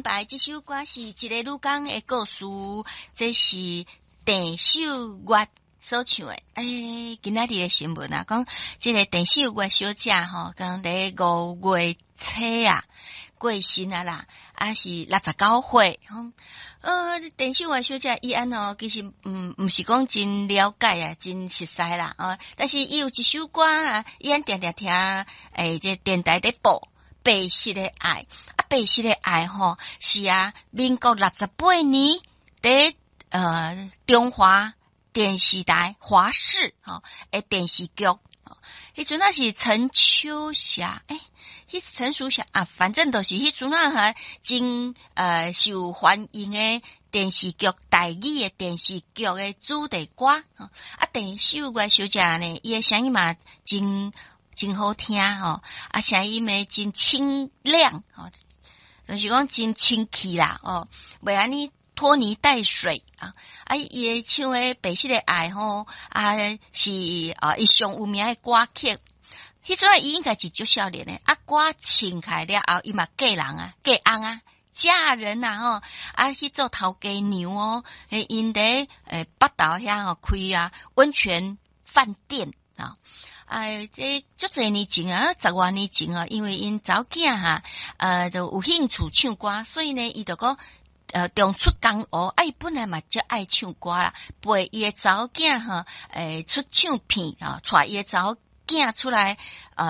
排這首歌是一個女工的故事，這是鄭秀月所唱的。欸，今仔日的新聞啊，講這個鄭秀月小姐吼，講佇5月初啊過身啊啦，啊是69歲。鄭秀月小姐伊按哦，其實毋是講真了解啊，真熟似啦哦。但是伊有一首歌啊，伊按定定聽，欸，這電台咧播《白色的愛》啊，《白色的愛》吼是啊，民國68年佇中華電視台華視吼的電視劇，彼陣仔是陳秋霞，欸，彼陳淑霞啊，反正就是彼陣仔還真受歡迎的電視劇，台語的電視劇的主題歌。啊，鄭秀月小姐呢，伊的聲音嘛真真好聽吼，啊，聲音嘛真清亮，吼，就是講真清氣啦，哦，袂按呢拖泥帶水啊！啊，伊的唱的《白色的愛》吼，啊是啊，伊上有名的歌曲。彼陣伊應該是足少年的，啊，歌唱開了後，伊嘛嫁人啊，嫁翁啊，嫁人啊吼，啊去做頭家娘哦。𪜶佇北投遐吼開啊溫泉飯店啊。哎，這足濟年前啊，十外年前啊，因為𪜶查某囝哈，就有興趣唱歌，所以呢，伊就講重出江湖，啊，伊本來嘛足愛唱歌啦，陪伊的查某囝吼，出唱片啊，帶伊的查某囝出來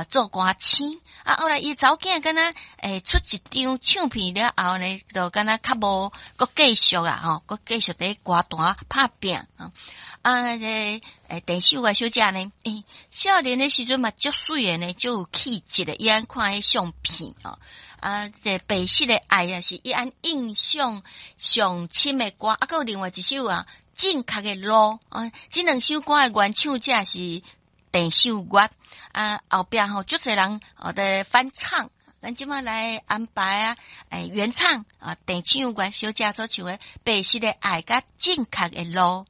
做歌星，啊，後來伊查某囝敢若出一張唱片了後呢，就敢若較無閣繼續啦吼，閣繼續佇歌壇拍拚啊。啊，這鄭秀月小姐呢，欸，少年的時陣嘛足媠的呢，足有氣質的，伊按看彼相片哦。啊，這白色的愛啊，是伊按印象上深的歌，啊，閣有另外一首啊，正確的路啊，這兩首歌的原唱者是鄭秀月啊，後壁吼足濟人哦佇翻唱，咱這馬來安排啊，欸，原唱啊，鄭秀月小姐所唱的《白色的愛》佮正確的路。